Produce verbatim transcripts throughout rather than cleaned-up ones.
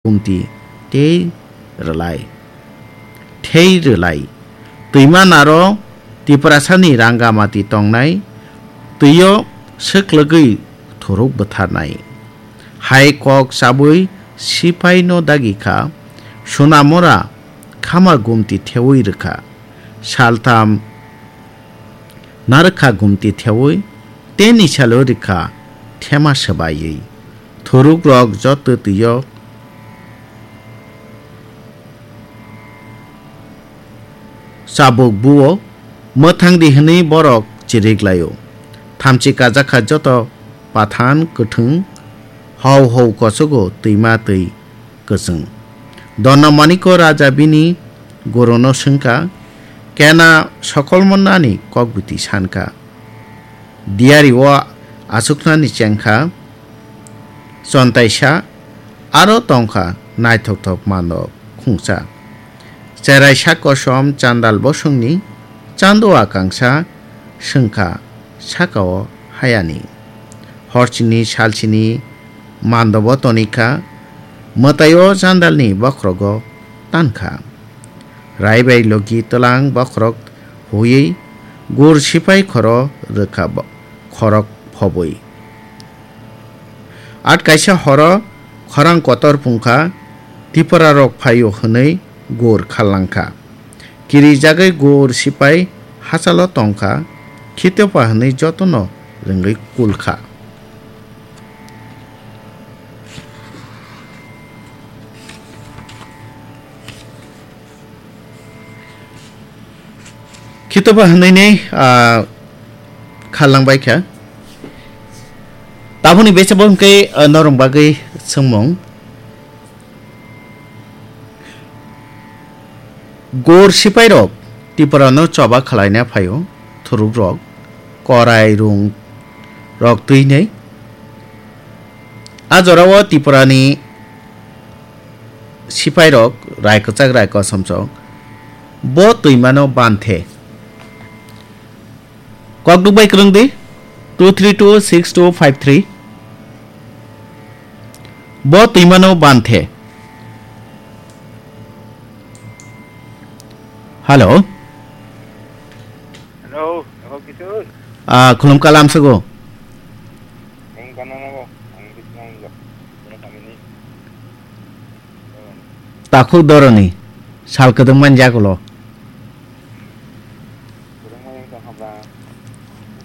gumti tei rwlai, thei rwlai. Twima naro Tiprasani rangamati tongnai twio swklwgwi thuruk bwtharnai. Hai kok chabwi sipaino dagi kha, Sunamura khama gumti thewi rwkha. Saltham narwkha gumti thewi, teni salo rikha thema swbaiwi. Thurukrok joto twio chabuk buo, mwthangdi hwnwi borok chirik laio. Thamchi kajakha joto pathan kwthwng, hau hau kosogo twima twi kwchwng. Dono Maniko raja bini guruno swngkha, kena sokolmo nani kokbiti sankha. Diario achuknani chengkha, chontaisa aro tongkha naithokthok mano khungsa. Cherai sak kosom chandal bosongni chando akangsa swngkha sakao hayani. Horchini salchini mandobo tonikha, mwtaio chandalni bokhrogo tankha. Rai bai logi twlang bokhorok huiwi gur sipai khoro rwkha bo-, khorok phobwi. At kaisa horo khorang kotor phungkha, Tiprarok phaio hwnwi gur kharlangkha. Kirijagwi gur sipai hachalo tongkha, Khitopha hwnwi jotono rwngwi kulkha. Khitopha hwnwi ni, ah, kharlang bai kha. Tabukni besa bo hwnkhe, ah, norong bagwi swngmung. Gor sipai rok Tipra no choba khwlaina phaio, thuruk rok, korai rung rok twi nai. A jorao Tipra ni sipai rok rai kwchak rai kosom chok, bo twima no banthe. Kokduk bai kwrwng di, two three two six two five three. Bo twima no banthe. Hello. Hello, hello, Kishore. Ah, khulum kalam sugo. Ang kana na bo, ang bisna ang jo. Kana kami ni. Takhuk doroni sal kwdwng man jagulo. Kwdwng man wngkha kha ba,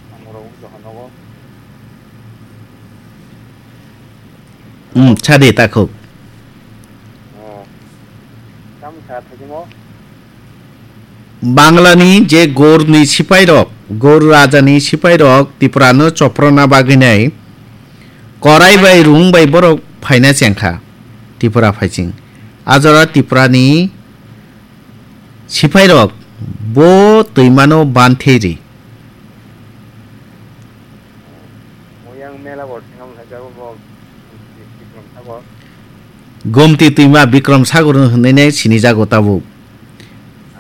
ang rok wngkha kha nogo. Hmm, sadi takhuk. Oh. Tamo sa thajimo? Banglani je Gorni sipairok, Gor rajani sipairok Tiprano choprona bagwinai korai bai rung bai borok phaina chengkha Tipra phaising. Ajora Tiprani sipairok bo twimano bantheri. Moyang mela bo thengam thajao bo Bikrom Sagor. Gomti twima Bikrom Sagor hwnwi ne sinijago tabuk.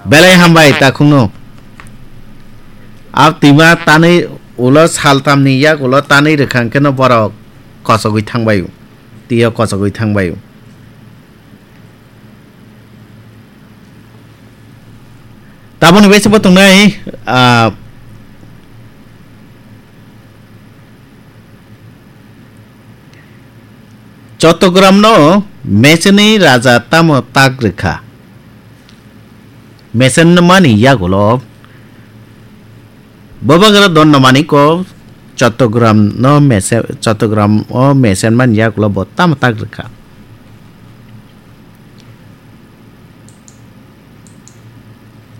Belai hambai takhungno. A twima tanwi ulo saltamni yak ulo tanwi rwkha hwnkhe no borok kochogwi thangbaio. Twiyo kochogwi thangbaio. Taboni bai se bo tongnai, ah, Chottogram no mechenwi raja tamo tak rwkha? Mechenmani yagulo Bubagra Dondamani ko Chottogram no mese-, Chottogram o mechenmani yagulo bo tamo tak rwkha?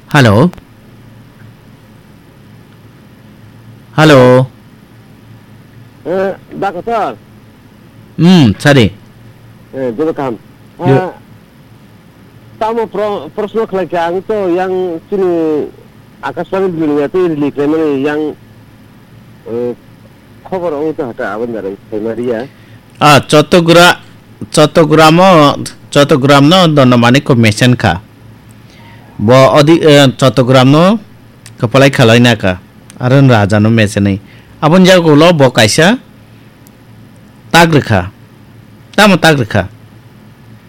Hello. Hello. Eh, Doctor. Hmm, sadi. Eh, joto kaham. Yo. Ah, tamo pro-, proshno khlai kha, ang to yang chini Akashbani dunia tei rili khlaimani yang, eh, khobor wng to hata aboni barai khlaimariya. Ah, Chottogra-, Chottogram o, Chottogram no Dondamani ko mesen kha. Bo odi, eh, Chottogram no kwpalai khalaina kha. Aro raja no mesenwi. Aboni jaga ulo bo kaisa tak rwkha. Tamo tak rwkha?